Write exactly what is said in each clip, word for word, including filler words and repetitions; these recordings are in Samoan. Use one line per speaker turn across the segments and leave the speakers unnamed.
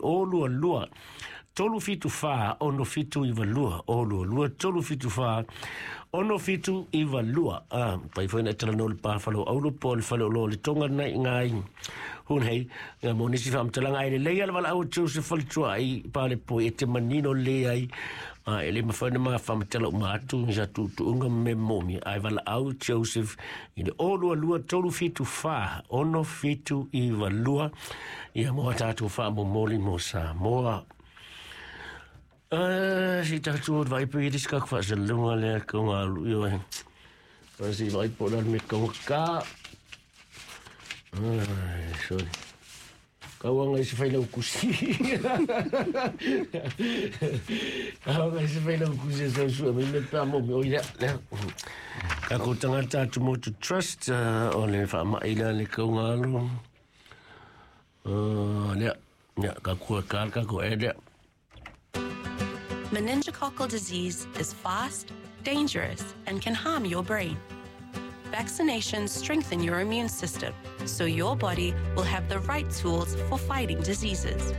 O lua lua tolu fitu fa ono fitu iwa lua o lua lua tolu fitu fa ono fitu iwa lua. Ah, pai foi na tala no le pa falo aulo po le falo lo le tonga nei ngai hun hei nga mo nisi fa mtalanga ai le leia le wala au Joseph Falitua ai pa le po e te manino le ai a ele mafana ma fa mtala uma atu sa tu tu unga me momi ai wala au Joseph i le o lua lua tolu fitu fa ono fitu iwa lua ia mo tātou fa mo moli mo sa moa. Ah, si tātou o vai pe iris ka fa se lunga le ko ngā lu yo. Pa si vai po la me ko ka. Ai, sorry. Ka wanga i se whai lau kusi. Ka wanga i se whai lau kusi sa sua me me pā mo me oi lea. Lea. Ka ko tangata Atumotu Trust uh, o le wha maila le kau ngā lu. Uh, lea. Lea, ka kua ka ka ko e lea.
Meningococcal disease is fast, dangerous, and can harm your brain. Vaccinations strengthen your immune system, so your body will have the right tools for fighting diseases.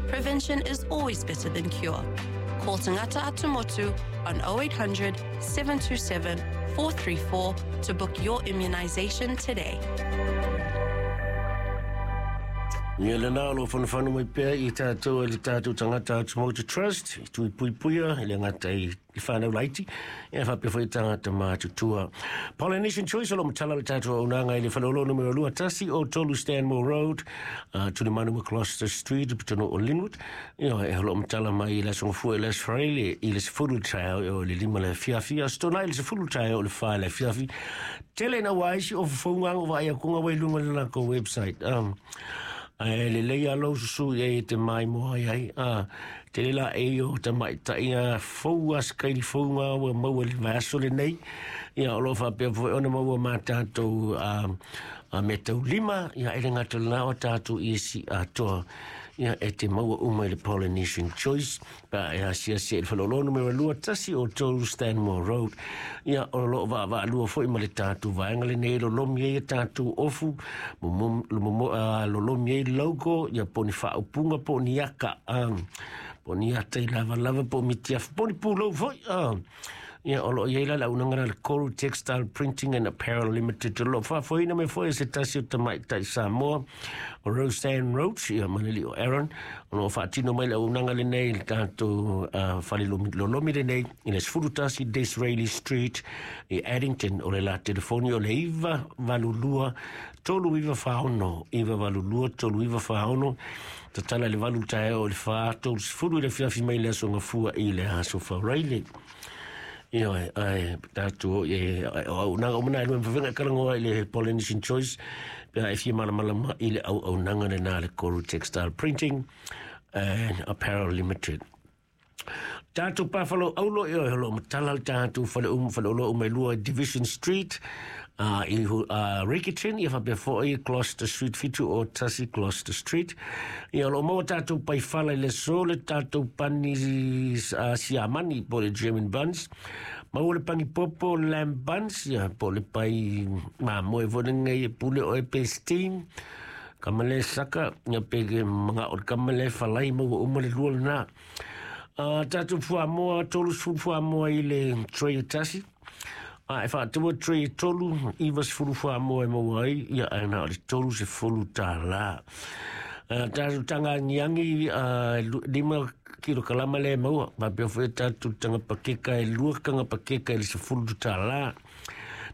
Prevention is always better than cure. Call Tangata Atumotu on oh eight hundred, seven two seven, four three four to book your immunization today.
Ia le nā lo whanawhanu mai pēr i tātou e le tātou tangata Atumotu Trust, i tui pui puia, i le ngata i i whānau laiti, e whapea whai tangata mātutua. Polynesian Choice, o lo matala le tātou au nanga i le whalolo numero lua tasi o Tolu Stanmore Road, uh, Tulimanu Gloucester Street, pitono o Linwood. Ia, e holo matala mai i la songofua i las Fraile, i le sefulu taeo, o le lima le fiafi, a stona i le sefulu taeo o le wha le fiafi. Tele na waisi o whaunga o vai a kunga wai lunga le lako website. Um, Ai le leia lau susu i e te mai moa ai ai. Ah, te lela e o te mai tai a fau a skairi faunga ua maua le vaso le nei. Ia o lo whapea fo ona maua mā tātou a, a me tau lima. Ia ele ngā tau lao tātou i esi atoa. Ia e te maua uma i le Polynesian Choice. Pa e asia se e whalolo numero lua tasi o Tolu Stanmore Road. Ia o lo wa wa lua fo i ma le tātou vaenga le nei lo lomi e tātou ofu. Mo mo lo lomi e logo ia poni whaopunga poni aka um, poni ata i lava lava po mitiaf poni pūlou foi um, ia o lo ia ila la unanga le Koru Textile Printing and Apparel Limited lo whafoina me foi se tasi o tamai tai Samoa o Roseanne Roach ia maneli o Aaron o lo whaatino mai la unanga le nei le tātou uh, whale lolomi le nei i le sefulu tasi Disraeli Street i Addington o le la telefoni o le iwa valulua tolu iwa whaono iwa valulua tolu iwa whaono tatala le valu tae o le wha tolu sefulu i le fiafi mai le aso ngafua i le aso whauraile. Ia, ai, tātou, e, o nanga o mana e lua mwawhenga karangoa i le Polynesian Choice, pea e fia malamalama i le au au nanga le nā le Koru Textile Printing and Apparel Limited. Tātou pāwhalo aulo e oi holo matala le tātou whale um whale olo umai lua Division Street uh, i uh, Rickerton i whapea foi Gloucester Street fitu o Tasi Gloucester Street. Ia lo maua tātou pai whala i le so le tātou pani uh, siamani po le German buns. Maua le pangi popo lamb buns ia po le pai mamoe vone ngai e pule o e pe steam. Kamale saka ia peke mga o kamale whalai maua uma le lua nā. Uh, tātou fuamoa, tolu sefulu fuamoa i le tray o tasi. Uh, e whaatua tray e tolu, iwa sefulu fuamoa e maua ai, ia ai nā o le tolu sefulu tālā. Uh, tātou tanga ngiangi, uh, lima kilo kalama le maua. Wapea fwe tātou tanga pakeka e lua kanga pakeka i le sefulu tālā.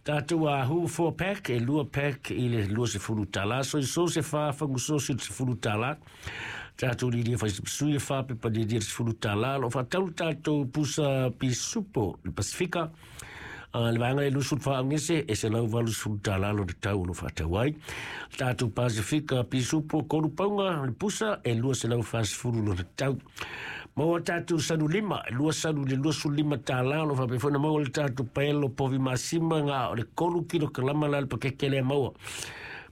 Tātou a hu four pack, e lua pack i le lua sefulu tālā. So i so se wha, whangu so se sefulu tālā. Tātou li lia whaisapsui e wha, pepa li lia sefulu tālā. Lo whataulu tātou pusa pisupo, le Pasifika. Uh, le vaenga e lusul whaangese, e se lau valu sefulu tālā lo te tau lo whatau ai. Tātou Pasifika pisupo koru paunga, le pusa, e lua se lau whasefulu lo te tau. Maua tātou sanu lima, lua sanu le lua sulu lima tālā, lo whapewhana maua le tātou paelo povi masima ngā o le kolu kilo kalama la le pakeke le maua.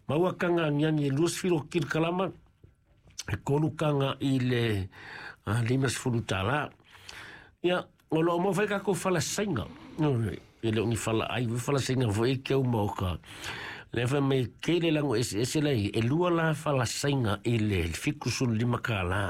Maua kanga ngiangi e lua sefilo kilo kalama, e kolu kanga i le uh, lima sefulu tālā. Ia, o lo mo whai kako whala sainga. E le ongi whala ai, whala sainga fo e kia umaoka. Le wha me kele lango ese ese lei, e lua la whala sainga i le fiku sulu lima kā la.